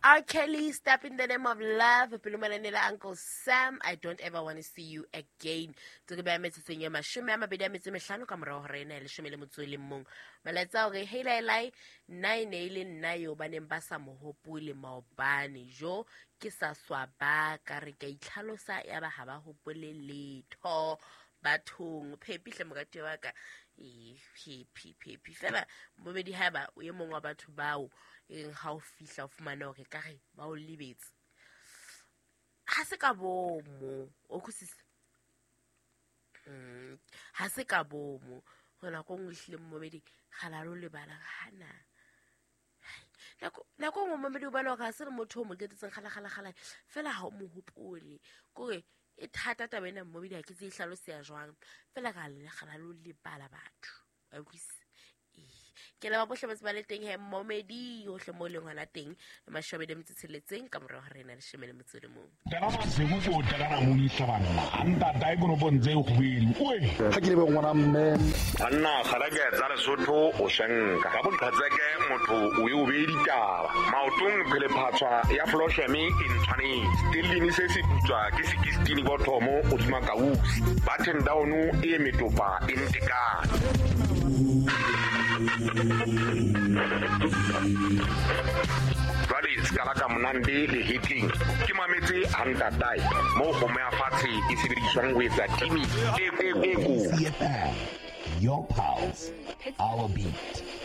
R. Kelly, Step in the Name of Love, pele manane la Uncle Sam, I Don't Ever Want to See You Again. Tse ke beya metsotsong e 25 ka morao hora ena ya 11. Molaetsa hore hey lai lai, nna e ne e le nna eo ba neng ba sa mo hopole maobane. Jo ke sa swaba ka re ka itlhalosa ya ba ha ba hopole letho bathong. Phepi hle morati wa ka. Ee, phepi phepi fela momedi haeba o e mong wa batho bao e reng ha o fihla o fumane hore ka re ba o lebetse, ha se ka bomo o utlwisisa. Ha se ka bomo ho nako nngwe ehlile momedi kgala lo lebala hana nako nngwe momedi o bona hore ha se le motho o mo qetetseng kgala kgala kgala fela ha o mo hopole kore e thata taba ena momedi ha ke tse e hlaloseya jwang fela ka kgala lo lebala batho wa utlwisisa. Ke leba bohle ba ba le teng he momedi hohle mo leng hona teng 26 ka morao ha rena 11. Tena masiku ko tena na monisa banna. Ntata e kono ntse e kgwedi. Oe. Ha ke le ngwana mme. Banna kgareke tsa Lesotho o shenka. Ka boqhatseke motho o e o be ditaba. Maotong phele phatswa ya Flosheme e ntshwanetse. Stellini se se putswa ke 16 bothomo o dima kausi. Button down e metopa e ntekane. Jwale ska ka monande le hitling ke mametse a ntatae mo kgomo ya fatshe e sebediswang ho etsa timi e Your pulse, our beat.